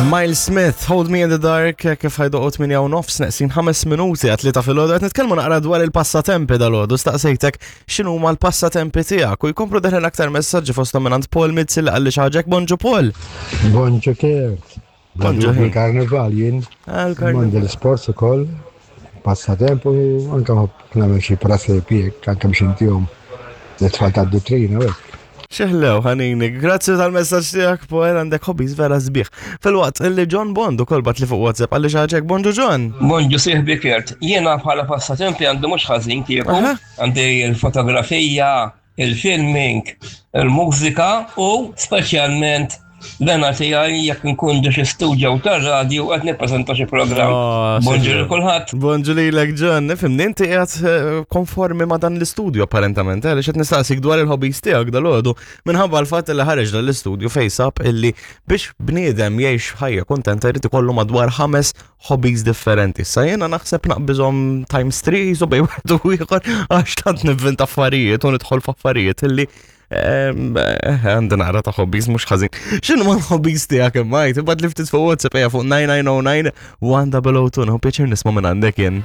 Miles Smith, Hold Me in the Dark, kif ħajdoqot minn jaw nofs neqsin 5 minuti għat li ta' fil-ħodu, għat nitkelmu naqra dwar il-passatempi dal-ħodu, staqsejtek xinu ma l-passatempi tijak, u jkomplu deħlen aktar messagġi fostom minn Paul Mizzi li għalli xaġek, bonġu Paul. Bonġu Kert. Bonġu. Il-karnival jien. Ah, il-karnival. Mandi l-sports ukoll, passatempu, anka nagħmel xi presepi anke biex intihom l-tfal tad-duttrina u hekk. Xeħlew, ħanini, grazzi tal-messaġġ tiegħek, Poel, għandek hobbies vera sbieħ. Filwaqt illi John Bond ukoll bat li fuq WhatsApp għalli xaġek, bonġu John. Bonġu sieħbi Kert, jiena bħala passatempi għandu mhux ħażin kieku, għandi l-fotografija, il-filming, il-mużika u speċjalment l-għena tiegħi jekk nkun ġo xi studio tar-radju qed nippreżenta xi programm. Oh, Bonġu lil kulħadd. Bonġu lilek John, nifhimni inti qiegħed eh, konformi ma' dan l-istudju apparentament, eh, għaliex qed nistaqsik dwar il-hobbies tiegħek dal-għodu minħabba l-fatt li ħareġ dan l-istudju fejn sab illi biex bniedem jgħix ħajja kuntenta jrid ikollu madwar ħames hobbies differenti. Sa jiena naħseb naqbiżhom times 3 so bej wieħed u ieħor għax tant nivvinta affarijiet u nidħol f'affarijiet illi eh, għandi naqra ta' hobbies mhux ħażin. X'inhu ma l-hobbies tiegħek imma jgħid ibad li ftit fuq WhatsApp ejja fuq 9909 1002 pjaċir nisma' minn għandek jien.